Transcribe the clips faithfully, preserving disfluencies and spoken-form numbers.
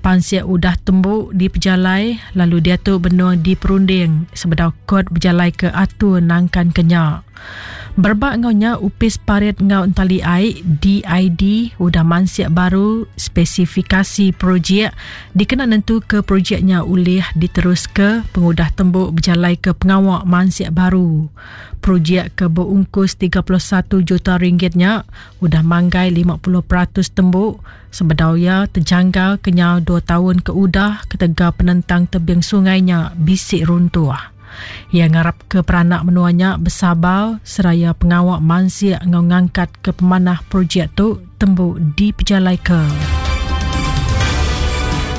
Pansik udah tembu dipejalai lalu diatu benung diperunding sebedau kod berjalai ke atur nangkan kenya. Berbak ngau nya Upis Parit ngau Entali Ai D I D udah mansik baru spesifikasi projek dikena nentu ke projeknya ulih diterus ke pengudah tembu berjalai ke pengawak mansik baru. Projek ke berungkus tiga puluh satu juta ringgitnya udah manggai lima puluh peratus tembu sebedau ia terjanggal kenyau dua tahun ke udah ketegal penentang tebing sungainya bisik runtuh. Ia ngarap ke peranak menuanya bersabar seraya pengawak mansik ngau ngangkat ke pemanah projek tu tembu dipejalai ke.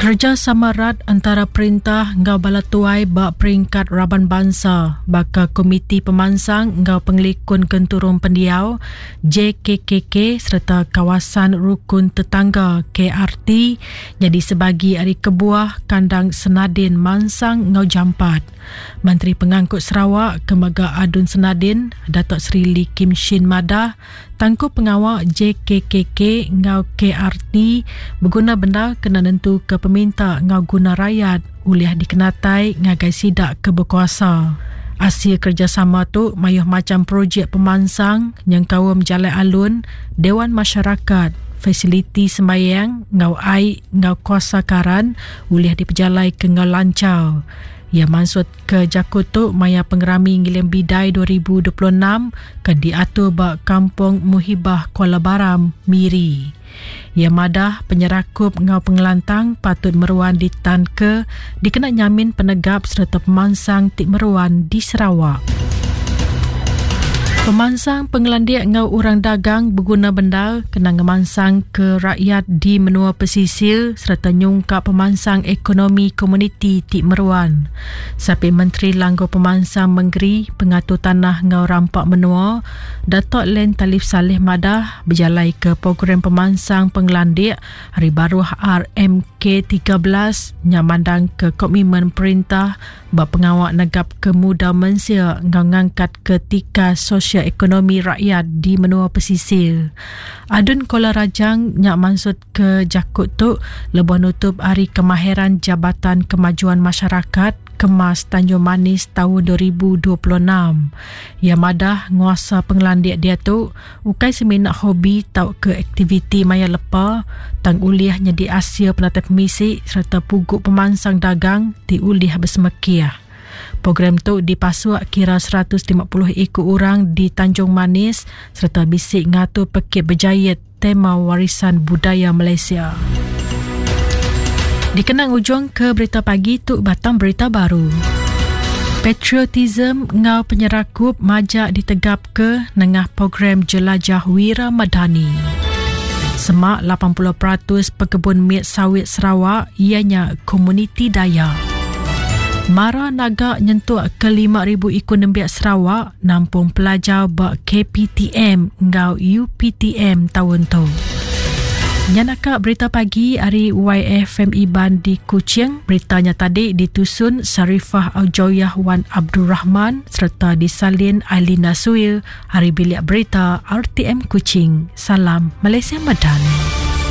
Kerjasama rat antara perintah ngau bala tuai bak peringkat raban bangsa baka Komiti Pemansang ngau Pengelikun Genturung Pendiau J K K K serta Kawasan Rukun Tetangga K R T jadi sebagi ari kebuah kandang Senadin Mansang ngau Jampat. Menteri Pengangkut Sarawak Kemaga Adun Senadin Datuk Seri Lee Kim Shin Madah tangkup pengawal J K K K ngau K R T berguna benda kena nentu ke peminta ngau guna rakyat ulih dikenatai ngagai sidak ke berkuasa. Asil kerjasama tu mayuh macam projek pemansang yang kaum Jalai Alun, Dewan Masyarakat, fasiliti sembayang ngau ai ngau kuasa karan ulih dipejalai ke ngau lancar. Ia maksud ke jakut tu maya pengerami Ngiling Bidai dua ribu dua puluh enam ke diatur ba Kampung Muhibah Kuala Baram, Miri. Ia madah penyerakup ngau pengelantang patut meruan ditanke dikena nyamin penegap serta pemansang tik meruan di Sarawak. Pemansang pengelandiak ngau orang dagang berguna benda kena ngemansang ke rakyat di menua pesisir serta nyungkap pemansang ekonomi komuniti tik meruan. Sapi Menteri Langgo Pemansang Mengeri Pengatur Tanah ngau Rampak Menua Datuk Len Talif Saleh Madah berjalai ke program pemansang pengelandiak hari baru R M K tiga belas nyamandang ke komitmen perintah bab pengawak negap ke muda mensia ngau ngangkat ke tika sosial ekonomi rakyat di menua pesisir. Adun Kuala Rajang nyak maksud ke jakut tu lebuh nutup hari kemahiran Jabatan Kemajuan Masyarakat Kemas Tanjung Manis tahun dua ribu dua puluh enam. Ia madah nguasa pengelandiak dia tu ukai seminak hobi tau ke aktiviti maya lepa tang ulih nyadi asia penatap misi serta puguk pemansang dagang ti ulih bersemekiah. Program tu dipasuk kira seratus lima puluh ikut orang di Tanjung Manis serta bisik ngatur pekit berjayat tema warisan budaya Malaysia. Dikenang ujung ke berita pagi tu batang berita baru. Patriotism ngau penyerakup majak ditegap ke nengah program Jelajah Wira Madani. Semak lapan puluh peratus pekebun miat sawit Sarawak ianya komuniti Dayak. Mara naga nyentuk ke lima ribu ikut nembiak Sarawak nampung pelajar bak K P T M ngau U P T M tahun tu. Nyanaka berita pagi hari Y F M Iban di Kuching. Beritanya tadi ditusun Sarifah Aujoyah Wan Abdul Rahman serta disalin Ailina Suil. Hari bilik berita R T M Kuching. Salam Malaysia Madani.